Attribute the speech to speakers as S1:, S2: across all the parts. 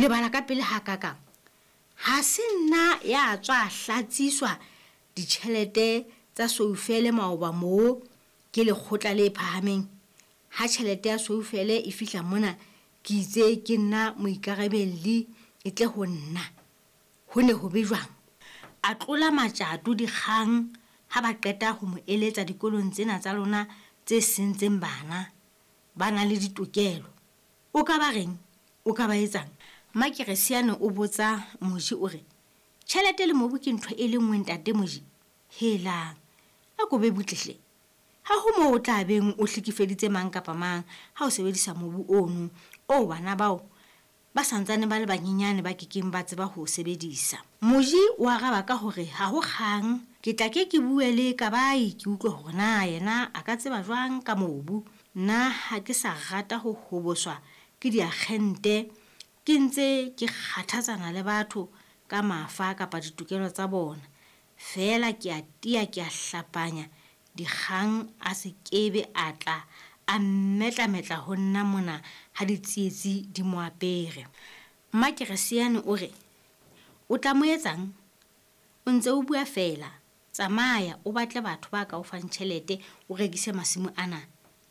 S1: Lebala ka pele hakakang? Ha se nna ya tswa hlatsiswa ditjhelete tsa Soufele maoba moo ke lekgotla le phahameng. Ha tjhelete ya Soufele e fihla mona, ke itse ke nna moikarabelli e tle ho nna. Ho ne ho be jwang? A tlola matjato Dikgang ha ba qeta ho mo eletsa dikolong tsena tsa lona tse sentseng bana. Ba na le ditokelo. O ka ba reng? O ka ba etsang? Mmakeresiane o botsa Moji o re, Tjhelete le mobu ke ntho e le nngwe ntate Moji? Helang! A ko be butle hle. Ha ho moo o tla beng o hlekefeditse mang kapa mang ha o sebedisa mobu ono oo bana bao ba sa ntsane ba le banyenyane ba ke keng ba tseba ho o sebedisa. Moji o araba ka hore ha ho kgang, ke tla ke ke bue le Kabai ke utlwe hore na yena a ka tseba jwang ka mobu. Nna ha ke sa rata ho hoboswa ke diakgente ke ntse ke kgathatsana le batho ka mafa kapa ditokelo tsa bona. Feela ke a tia ke a hlapanya Dikgang a se kebe a tla a mmetlametla ho nna mona ha ditsietsi di mo apere. Mmakeresiane o re, O tla mo etsang? O ntse o bua feela. Tsamaya o batle batho ba ka o fang tjhelete o rekise masimo ana.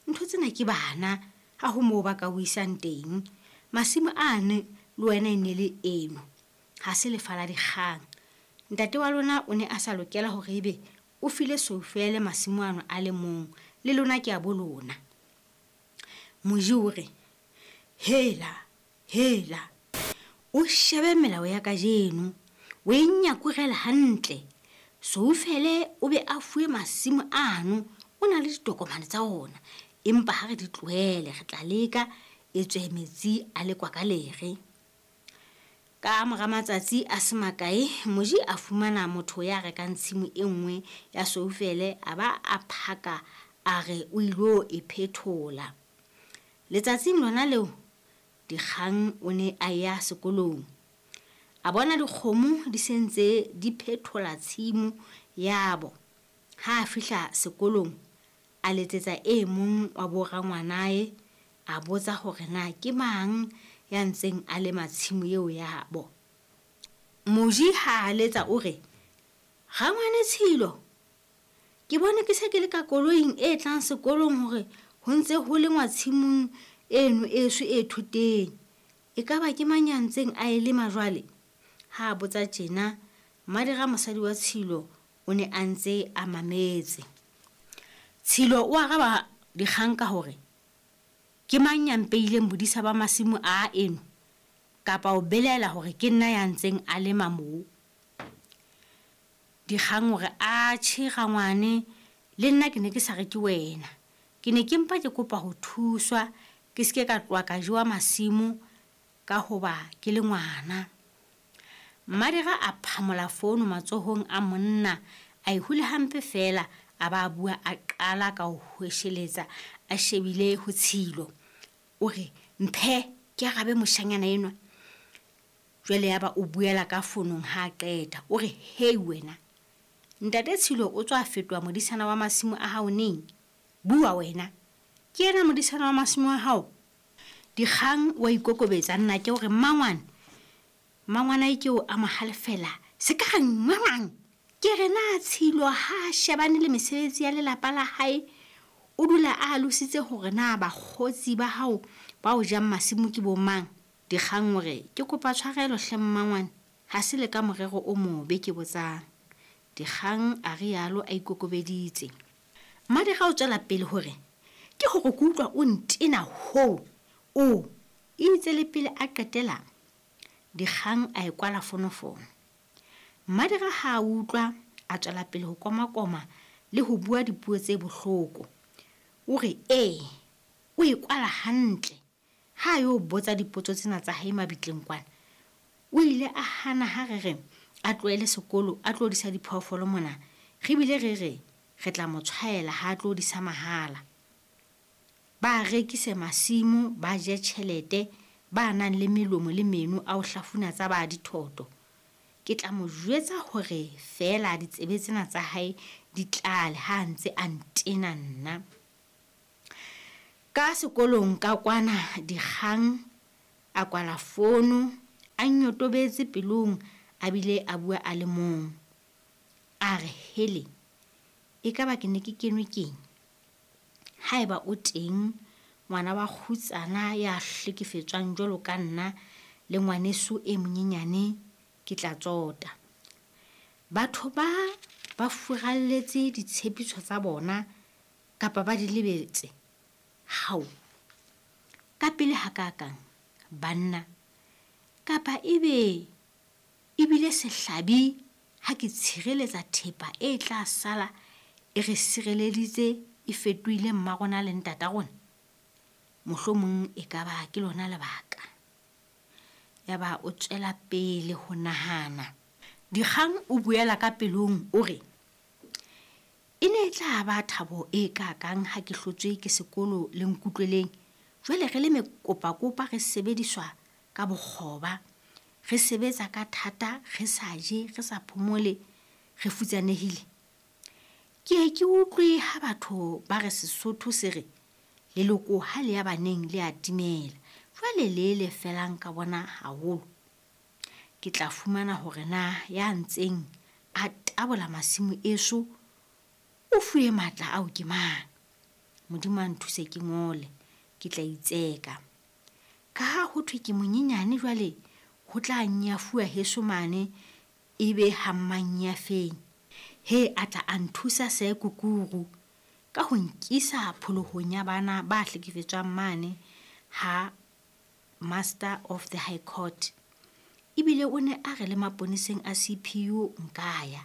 S1: Ntho tsena ke bana, ha ho moo ba ka o isang teng. Masimo ane le wena e ne le eno. Ha se lefa la dikgang. Ntate wa lona o ne a sa lokela hore ebe O file Soufele masimo ano a le mong, le lona ke a bo lona. Moji o re, Hela, hela! O shebe melao ya kajeno, o e nyakurele hantle. Soufele o be a fuwe masimo ano, o na le ditokomane tsa ona, empa ha re di tlohele re tla leka, etswe metsi a lekwa ka lere. Ka mora matsatsi a se makae, Moji a fumana motho ya rekang tshimo e nngwe ya Soufele a ba a phaka a re o ilo e phethola. Letsatsing lona leo, Dikgang o ne a ya sekolong. A bona dikgomo di se ntse di phethola tshimo yabo. Ha a fihla sekolong, a letsetsa e mong wa borangwanae a botsa hore na ke mang ya ntseng a lema tshimo eo yabo. Moji ha a letsa o re, Rangwane Tshilo, ke bone ke se ke le ka koloing e tlang sekolong hore ho ntse ho lengwa tshimong eno eso e thoteng. Ekaba ke mang ya ntseng a e lema jwale? Ha a botsa tjena, Mmadira mosadi wa Tshilo o ne a ntse a mametse. Tshilo o araba dikgang ka hore, Ke mang ya mpeileng bodisa ba masimo aa eno? Kapa o belaela hore ke nna ya ntseng a lema moo? Dikgang o re, Atjhe rangwane, le nna ke ne ke sa re ke wena. Ke ne ke mpa ke kopa ho thuswa ke se ke ka tloha ka jewa masimo ka hoba ke le ngwana. Mmadira a phamola fono matsohong a monna, a e hula hampe feela, a ba a bua a qala ka ho hwesheletsa a shebile ho Tshilo. O re, Mphe ke arabe moshanyana enwa. Jwale yaba o buela ka fonong ha a qeta. O re, Hei wena! Ntate Tshilo o tswa fetoha modisana wa masimo a hao neng? Bua wena! Ke yena modisana wa masimo a hao? Dikgang o a ikokobetsa, nnake o re, Mmangwane, Mmangwanae ke o a mo halefela, Se ka re nngwangwang! Ke re na Tshilo ha a shebane le mesebetsi ya lelapa la hae, o dula a alositse hore na bakgotsi ba hao ba o jang masimo ke bo mang? Dikgang o re, Ke kopa tshwarelo hle mmangwane, ha se le ka morero o mobe ke botsang. Dikgang a rialo a ikokobeditse. Mmadikga o tswela pele ho re, Ke hore ke utlwa o ntena hoo, o. Itse le pele a qetela, Dikgang a e kwala fonofono. Mmadikga ha a utlwa, a tswela pele ho komakoma le ho bua dipuo tse bohloko. O re, Ee, o e kwala hantle. Ha a yo botsa dipotso tsena tsa hae mabitleng kwana, o ile a hana ha re re a tlohele sekolo a tlo disa diphoofolo mona, re bile re re re tla mo tshwaela ha a tlo disa mahala. Ba rekise masimo, ba je tjhelete, ba nang le melomo le meno a ho hlafuna tsa ba dithoto. Ke tla mo jwetsa hore feela ditsebe tsena tsa hae di tlale ha a ntse a ntena nna. Ka sekolong ka kwana Dikgang a kwala fono, A nyotobetse pelong a bile a bua a le mong. A re, Hele, ekaba ke ne ke kenwe keng? Haeba o teng ngwana wa kgutsana ya hlekefetswang jwalo ka nna le ngwaneso e monyenyane, ke tla tsota. Batho ba ba furalletse ditshepiso tsa bona kapa ba di lebetse? Hao! Kapele hakaakang, banna! Kapa ebe e bile sehlabi ha ke tshireletsa thepa e tla sala e re sireleditse e fetohile mma rona le ntata rona? Mohlomong e ka ba ke lona lebaka. Yaba o tswela pele ho nahana. Dikgang o buela ka pelong o re, E ne e tla ba thabo e kaakang ha ke hlotswe ke sekolo le Nkutlweleng, jwale re le mekopakopa re sebediswa ka bokgoba, re sebetsa ka thata, re sa je, re sa phomole, re futsanehile. Ke ye ke utlwe ha batho ba re Sesotho se re, leloko ha le ya baneng le a timela, jwale le le felang ka bona haholo. Ke tla fumana hore na ya ntseng a tabola masimo eso o fuwe matla ao ke mang. Modimo a nthuse ke ngole, ke tla itseka. Ka ha ho thwe ke monyenyane jwale ho tla nyafuwa heso mane ebe ha mmannyafeng. He a tla a nthusa Sir Kukuru ka ho nkisa pholohong ya bana ba hlekefetswang mane ha Master of the High Court. Ebile o ne a re le maponeseng a CPU nka ya.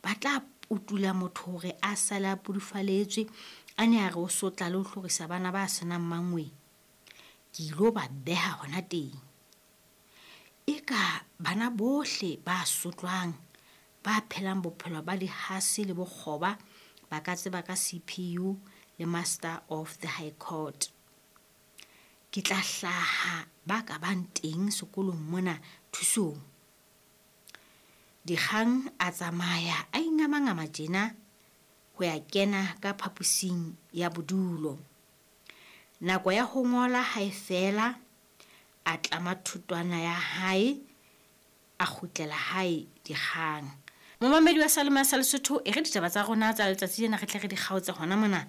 S1: Ba tla putula motho hore a sale a pudufaletswe, a ne a re o sotla le ho hlorisa bana ba senang mangweng. Ke ilo ba beha hona teng. Eka bana bohle ba sotlwang, ba phelang bophelo ba dihase le bokgoba ba ka tseba ka CPU le Master of the High Court. Ke tla hlaha ba ka bang teng sekolong mona thusong. Dikgang a tsamaya a ingamangama tjena ho ya kena ka phaposing ya bodulo. Nako ya ho ngola ha e fela, a tlama thotwana ya hae, a kgutlela hae Dikgang. Momamedi wa Salome sa Lesotho, e re ditaba tsa rona tsa letsatsi lena re tle re di kgaotse hona mona.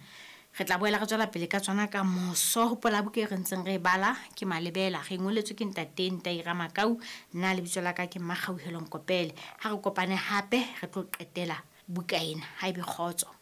S1: Re tla boela re tswela pele ka tsona ka moso. Hopola buka e re ntseng re e bala ke Malebela. Re e ngoletswe ke Ntate Ntai Ramakau. Nna lebitso la ka ke Mmakgauhelo Nkopele. Ha re kopane hape re tlo qetela buka ena. Ha ebe kgotso.